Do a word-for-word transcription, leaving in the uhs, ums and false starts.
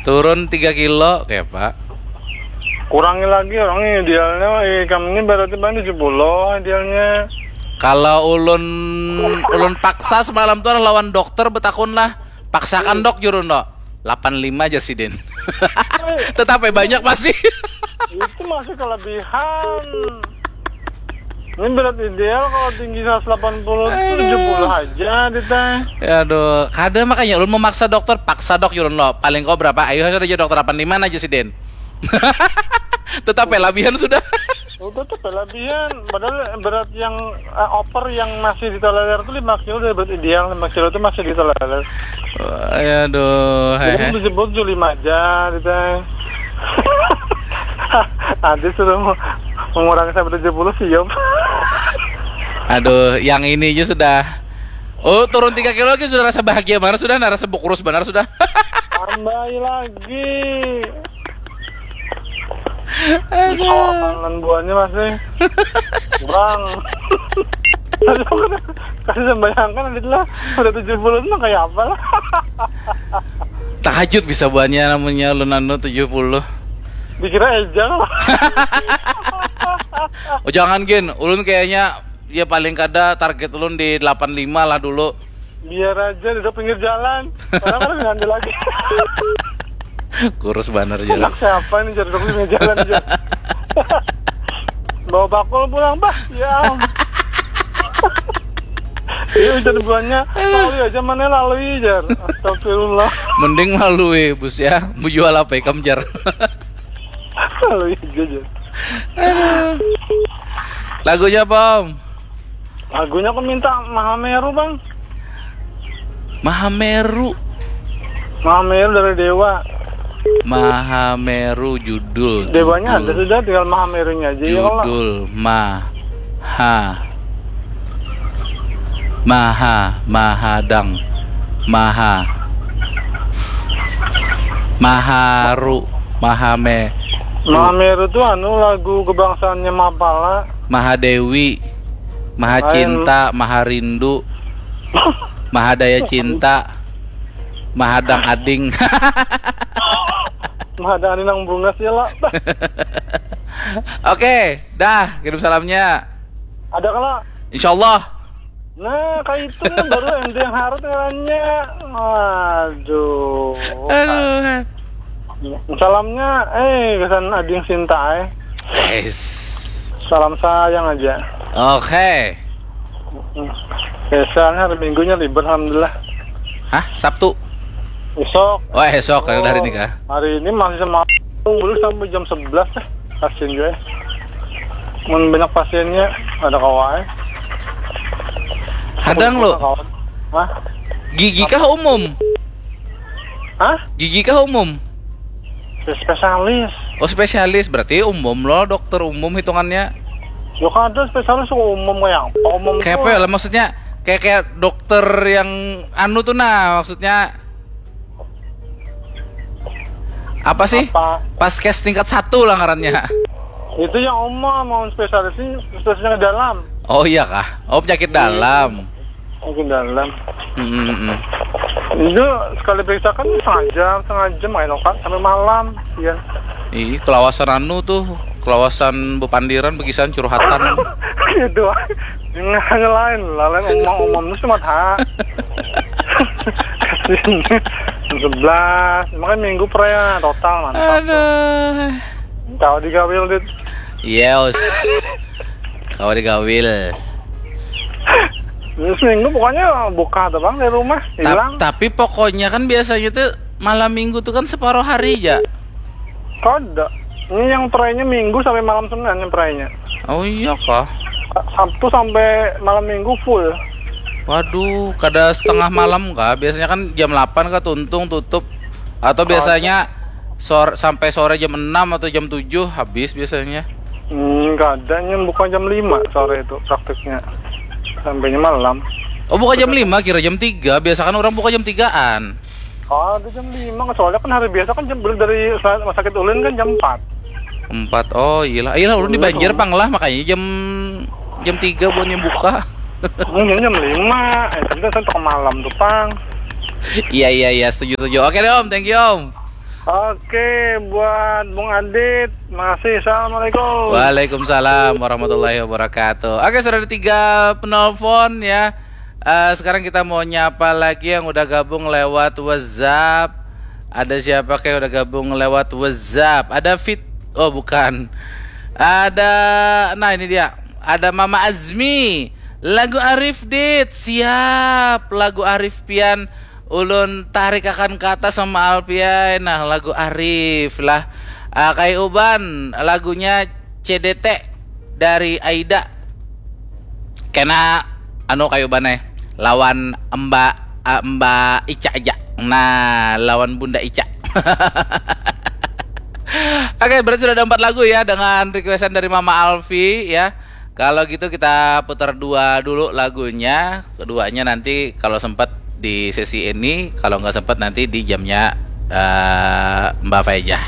Turun tiga kilo, kayak apa? Kurangi lagi orang ini idealnya, eh, kamu ini berarti bang tujuh puluh idealnya. Kalau ulun ulun paksa semalam tuh lawan dokter, betakun lah. Paksakan dok, jurun dok. Delapan lima aja sih, Den. Tetap ya banyak masih. Itu masih kelebihan. Ini berat ideal kalau tinggi seratus delapan puluh tuh tujuh puluh aja di teh. Ya aduh, kada, makanya ulun memaksa dokter, paksa dok, jurun lo. Paling kau berapa? Ayo sudah aja dokter, delapan lima aja sih, Den. Tetap ya labihan sudah. Udah tuh kelebihan. Padahal berat yang eh, over yang masih ditolerir tuh lima kilo dari berat ideal, lima kilo tuh masih ditolerir. Aduh, Jadi hehe. Disebut tujuh lima aja di teh. Nanti suruh mengurangi sampai tujuh puluh, siap. Aduh, yang ini aja sudah. Oh, turun tiga kilo lagi sudah rasa bahagia banget sudah, nah rasa kurus benar sudah. Tambahi lagi. Aduh. Buahnya masih kurang. Kasih sembayangkan, adit lah, udah tujuh puluh tuh kayak apa lah. Tahajud bisa buahnya namanya ulun anu tujuh puluh. Dikira ejang lah. Oh jangan, Gin, ulun kayaknya ya paling kada target ulun di delapan lima lah dulu. Biar aja duduk pinggir jalan. Orang kan ngambil lagi. Kurus banget, Jar. Anak siapa nih, Jar, duduk pinggir jalan aja. Bawa bakul pulang, bah. Ya. Iya, hujan buahnya lalui aja, mana lalui, Jar. Astagfirullah. Mending lalui, Bus, ya. Mau jual apa ikam, Jar? Lalui aja, Jar. Lagunya apa, Om? Lagunya aku minta Mahameru, Bang. Mahameru. Mahameru dari Dewa. Mahameru judul. Dewanya ada judul, sudah, tinggal Mahamerunya aja ya kalau. Judul Maha. Maha, Mahadang. Maha. Maharu, Mahame. Mahameru tuh anu lagu kebangsaannya Mapala. Mahadewi. Maha Lain. Cinta, Maha Rindu. Mahadaya Cinta. Mahadang Ading. Mahadang Ading nang bungas ya lah. Oke, dah, kirim salamnya. Ada kalau Insyaallah. Nah, kayak itu nih, baru M D yang harus ngarannya. Aduh. Aduh. Salamnya, eh, kesan Ading Sinta, eh. Guys. Salam sayang aja. Oke. Oke, soalnya hari Minggunya libur, alhamdulillah. Hah, Sabtu? Besok. Oh, esok, karena hari ini kah? Hari ini masih sama, belum sampai jam sebelas, eh. Kasian juga, eh. Mun banyak pasiennya, ada kawa, eh. Hadang lo. Kawan. Hah? Gigi kah umum? Hah? Gigi kah umum? Spesialis. Oh, spesialis, berarti umum lo, dokter umum hitungannya. Yo kada, spesialis kok umum kayak apa? Umum tuh Kayak apa ya lah, maksudnya? Kayak kayak dokter yang anu tuh, nah, maksudnya apa sih? Apa? Paskes tingkat satu lah ngarannya. Itu yang umum, mau spesialis ini spesialisnya ke dalam. Oh iya kah? Oh, penyakit dalam. Mungkin dalam. Hmm, hmm, hmm. Itu sekali periksa kan setengah jam, setengah jam main okat sampai malam. Iya. Ih, kelawasan anu tuh, kelawasan bepandiran begisan curhatan. Itu hanya lain, lain umum-umum itu cuma ha. Sebelas, makanya minggu peraya total, mantap. Aduh. Kau digawil, Dit. Yes. Kau digawil. Ini seminggu pokoknya buka tuh, Bang, dari rumah, Ta- hilang. Tapi pokoknya kan biasanya tuh malam minggu tuh kan separuh hari aja. Kada. Ini yang perayanya minggu sampai malam Senin yang perayanya. Oh iya kah? Sabtu sampai malam minggu full. Waduh, kada setengah malam kah? Biasanya kan jam delapan kah tuntung tutup. Atau biasanya sore sampai sore jam enam atau jam tujuh habis biasanya. Hmm, kadangnya buka jam lima sore itu prakteknya. Sampainya malam. Oh, buka jam lima, kira jam tiga. Biasa kan orang buka jam tigaan. Oh, ada jam lima, soalnya kan hari biasa kan jam dari rumah sakit ulin kan jam empat. Empat. Oh, iyalah. Iyalah, ulun di Banjar pang lah, makanya jam jam tiga buatnya buka. Mungkin jam lima, eh, kita sampai ke malam tuh, Pang. Iya, iya, iya, setuju, setuju. Oke deh, Om, thank you, Om. Oke, buat Bung Adit, makasih. Assalamualaikum. Waalaikumsalam warahmatullahi wabarakatuh. Oke, sudah ada tiga penelpon ya. Eh, sekarang kita mau nyapa lagi yang udah gabung lewat WhatsApp. Ada siapa kayak udah gabung lewat WhatsApp? Ada Fit, oh bukan. Ada, nah ini dia. Ada Mama Azmi. Lagu Arif Dit, siap. Lagu Arif pian ulun tarik akan ke atas sama Alpian. Nah, lagu Arif lah. Ah, Kai Uban, lagunya C D T dari Aida. Kena anu Kai Uban eh lawan Mbak ah, Mbak Ica aja. Nah, lawan Bunda Ica. Oke, berarti sudah ada empat lagu ya dengan requestan dari Mama Alfi ya. Kalau gitu kita putar dua dulu lagunya. Keduanya nanti kalau sempat di sesi ini, kalau nggak sempat nanti di jamnya eh, Mbak Faijah.